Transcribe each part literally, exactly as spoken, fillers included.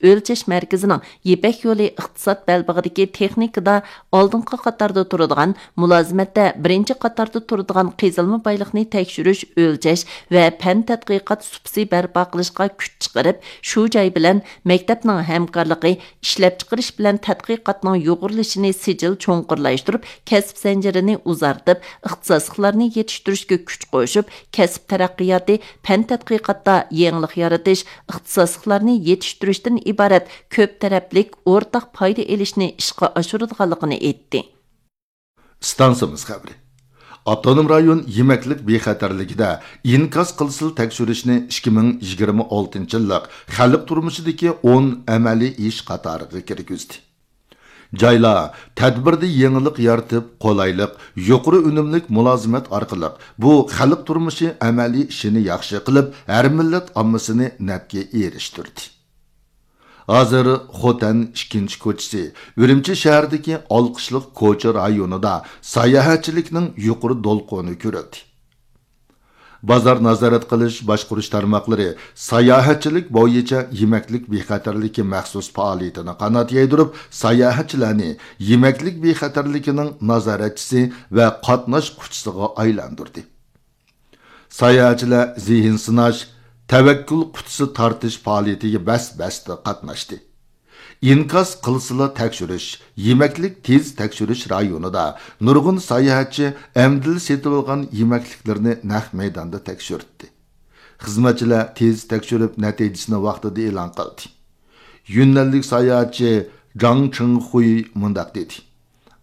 ئۆلچەش مەركىزىنىڭ يىپەك يولى ئىقتىساد بەلبېغىدىكى تېخنىكىدا ئالدىنقى قاتاردا تۇرىدىغان، مۇلازىمەتتە بىرىنچى قاتاردا تۇرىدىغان قېزىلما بايلىقنى تەكشۈرۈش، ئۆلچەش ۋە پەن تەتقىقات سۇپىسى بەرپا قىلىشقا كۈچ چىقىرىپ، شۇ جاي بىلەن مەكتەپنىڭ ھەمكارلىقى، ئىشلەپچىقىرىش بىلەن تەتقىقاتنىڭ يۇغۇرۇلۇشىنى سىجىل چوڭقۇرلاشتۇرۇپ، كەسىپ زەنجىرىنى ئۇزارتىپ، ئىختىساسلىقلارنى يېتىشتۈرۈشكە كۈچ قوشۇپ، كەسىپ تەرەققىياتى، پەن تەتقىقاتتا يېڭىلىق يارىتىش، ئىختىساسلىقلارنى يېتىشتۈرۈشتىن ئىبارەت كۆپ تەرەپلىك ئورتاق پايدا ئېلىشنى ئىشقا ئاشۇرىدىغانلىقىنى ئېيتتى. ئىستانسىمىز خەۋىرى. ئاپتونوم رايون يېمەكلىك بىخەتەرلىكىدە ئىنكاس قىلسىلا تەكشۈرۈشنى ئىككى مىڭ يىگىرمە ئالتىنچى يىللىق خەلق تۇرمۇشىدىكى ئون ئەمەلىي ئىش قاتارىغا كىرگۈزدى. جايلار تەدبىردە يېڭىلىق يارىتىپ، قولايلىق، يۇقىرى ئۈنۈملۈك مۇلازىمەت ئارقىلىق بۇ خەلق تۇرمۇشى ئەمەلىي ئىشىنى ياخشى قىلىپ، ھەر مىللەت ئاممىسىنى نەپكە ئېرىشتۈردى. ھازىر خوتەن ئىككىنچى كوچىسى، ئۈرۈمچى شەھىرىدىكى ئالقىشلىق كوچا رايونىدا ساياھەتچىلىكنىڭ يۇقىرى دولقۇنى كۆرۈلدى. بازار نازارەت قىلىش باشقۇرۇش تارماقلىرى ساياھەتچىلىك بويىچە يېمەكلىك بىخەتەرلىكى مەخسۇس پائالىيىتىنى قانات يايدۇرۇپ، ساياھەتچىلەرنى يېمەكلىك بىخەتەرلىكىنىڭ نازارەتچىسى ۋە قاتناشقۇچىسىغا ئايلاندۇردى. ساياھەتچىلەر زېھىن سىناش، تەۋەككۈل قۇتىسى تارتىش پائالىيىتىگە بەس-بەستە قاتناشتى. ئىنكاس قىلسىلا تەكشۈرۈش، يېمەكلىك تېز تەكشۈرۈش رايونىدا نۇرغۇن ساياھەتچى ئەمدىلا سېتىۋالغان يېمەكلىكلىرىنى نەق مەيداندا تەكشۈرتتى. خىزمەتچىلەر تېز تەكشۈرۈپ، نەتىجىسىنى ۋاقتىدا ئېلان قىلدى. يۈننەنلىك ساياھەتچى جاڭ چىڭخۇي مۇنداق دېدى: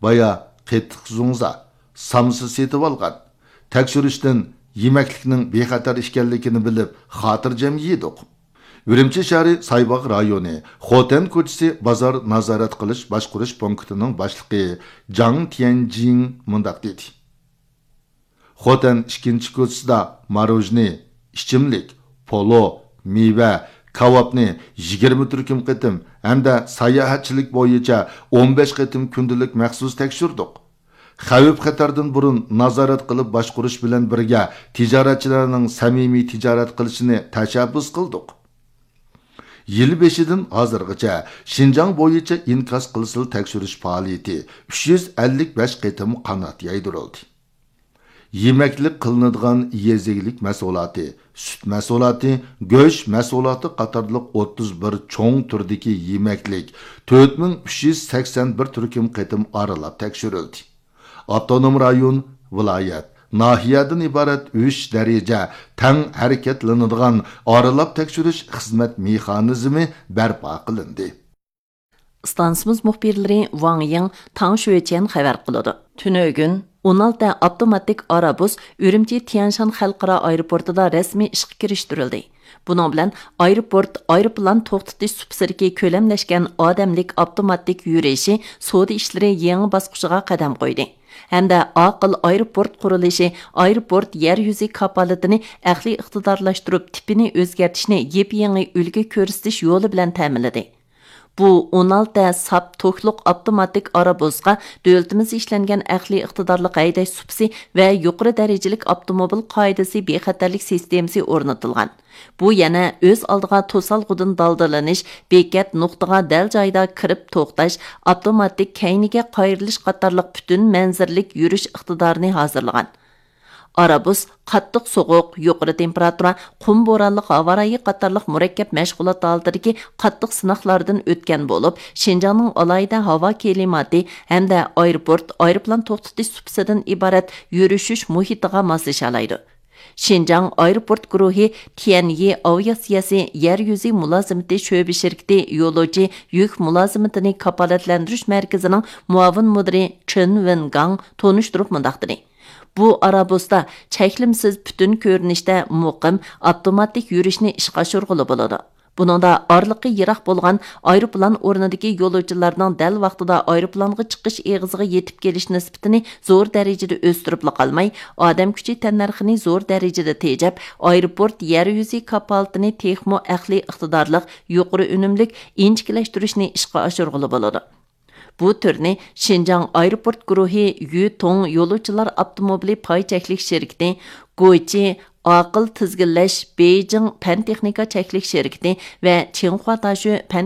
«بايا قېتىق زۇڭزا، سامسا سېتىۋالغان. تەكشۈرۈشتىن يېمەكلىكنىڭ بىخەتەر ئىكەنلىكىنى بىلىپ، خاتىرجەم يېدۇق.» ئۈرۈمچى شەھىرى سايباغ رايونى خوتەن كوچىسى بازار نازارەت قىلىش باشقۇرۇش پونكىتىنىڭ باشلىقى جاڭ تيەنجىڭ مۇنداق دېدى: «خوتەن ئىككىنچى كوچىسىدا ماروژنى، ئىچىملىك، پولۇ، مېۋە، كاۋاپنى يىگىرمە تۈركۈم قېتىم ھەمدە ساياھەتچىلىك بويىچە ئون بەش قېتىم كۈندىلىك مەخسۇس تەكشۈردۇق. خەۋپ-خەتەردىن بۇرۇن نازارەت قىلىپ باشقۇرۇش بىلەن بىرگە تىجارەتچىلەرنىڭ سەمىمىي تىجارەت قىلىشىنى تەشەببۇس قىلدۇق.» يىل بېشىدىن ھازىرغىچە شىنجاڭ بويىچە ئىنكاس قىلسىلا تەكشۈرۈش پائالىيىتى ئۈچ يۈز ئەللىك بەش قېتىم قانات يايدۇرۇلدى. يېمەكلىك قىلىنىدىغان يېزا ئىگىلىك مەھسۇلاتى، سۈت مەھسۇلاتى، گۆش مەھسۇلاتى قاتارلىق ئوتتۇز بىر چوڭ تۈردىكى يېمەكلىك تۆت مىڭ ئۈچ يۈز سەكسەن بىر تۈركۈم قېتىم ئارىلاپ تەكشۈرۈلدى. ئاپتونوم رايون، ۋىلايەت، ناھىيەدىن ئىبارەت ئۈچ دەرىجە تەڭ ھەرىكەتلىنىدىغان ئارىلاپ تەكشۈرۈش خىزمەت مېخانىزمى بەرپا قىلىندى. ئىستانسىمىز مۇخبىرلىرى ۋاڭ يىڭ، تاڭ شۆچيەن خەۋەر قىلىدۇ. تۈنۈگۈن ئون ئالتە ئاپتوماتىك ئارابۇس ئۈرۈمچى تيەنشان خەلقئارا ئايروپورتىدا رەسمىي ئىشقا كىرىشتۈرۈلدى. بۇنىڭ بىلەن ئايروپورت ئايروپىلان توختىتىش سۇپىسىدىكى كۆلەملەشكەن ئادەملىك ئاپتوماتىك يۈرۈشى سودا ئىشلىرى يېڭى باسقۇچىغا قەدەم قويدى ھەمدە ئاقىل ئايروپورت قۇرۇلۇشى ئايروپورت يەر يۈزى كاپالىتىنى ئەقلىي ئىقتىدارلاشتۇرۇپ، تىپىنى ئۆزگەرتىشنى يېپيېڭى ئۈلگە كۆرسىتىش يولى بىلەن تەمىنلىدى. بۇ ئون ئالتە ساپ توكلۇق ئاپتوماتىك ئارابۇسقا دۆلىتىمىزدە ئىشلەنگەن ئەقلىي ئىقتىدارلىق ھەيدەش سۇپىسى ۋە يۇقىرى دەرىجىلىك ئاپتوموبىل قائىدىسى بىخەتەرلىك سىستېمىسى ئورنىتىلغان. بۇ يەنە ئۆز ئالدىغا توسالغۇدىن دالدىلىنىش، بېكەت نۇقتىغا دەل جايىدا كىرىپ توختاش، ئاپتوماتىك كەينىگە قايرىلىش قاتارلىق پۈتۈن مەنزىرىلىك يۈرۈش ئىقتىدارىنى ھازىرلىغان. ئارابۇس قاتتىق سوغۇق، يۇقىرى تېمپېراتۇرا، قۇم بورانلىق ھاۋا رايى قاتارلىق مۇرەككەپ مەشغۇلات ھالىتىدىكى قاتتىق سىناقلاردىن ئۆتكەن بولۇپ، شىنجاڭنىڭ ئالاھىدە ھاۋا كىلىماتى ھەمدە ئايروپورت، ئايروپىلان توختىتىش سۇپىسىدىن ئىبارەت يۈرۈشۈش مۇھىتىغا ماسلىشالايدۇ. شىنجاڭ ئايروپورت گۇرۇھى تيەنيى ئاۋىئاتسىيەسى يەر يۈزى مۇلازىمىتى شۆبە شىركىتى يولۇچى يۈك مۇلازىمىتىنى كاپالەتلەندۈرۈش مەركىزىنىڭ مۇئاۋىن مۇدىرى چېن ۋېنگاڭ تونۇشتۇرۇپ مۇنداق دېدى: بۇ ئارابۇستا چەكلىمىسىز پۈتۈن كۆرۈنۈشتە مۇقىم، ئاپتوماتىك يۈرۈشنى ئىشقا ئاشۇرغىلى بولىدۇ. بۇنىڭدا ئارىلىقى يىراق بولغان ئايروپىلان ئورنىدىكى يولۇچىلارنىڭ دەل ۋاقتىدا ئايروپىلانغا چىقىش ئېغىزىغا يېتىپ كېلىش نىسبىتىنى زور دەرىجىدە ئۆستۈرۈپلا قالماي، ئادەم كۈچى تەننەرخىنى زور دەرىجىدە تېجەپ، ئايروپورت يەر يۈزى كاپالىتىنى تېخىمۇ ئەقلىي ئىقتىدارلىق، يۇقىرى ئۈنۈملۈك، ئىنچىكىلەشتۈرۈشنى ئىشقا ئاشۇرغىلى بولىدۇ. بۇ تۈرنى شىنجاڭ ئايروپورت گۇرۇھى يۈتۇڭ يولۇچىلار ئاپتوموبىلى پاي چەكلىك شىركىتى، گوچى ئاقىل تىزگىنلەش بېيجىڭ پەن تېخنىكا چەكلىك شىركىتى ۋە چىڭخۇا تاشۆ پەن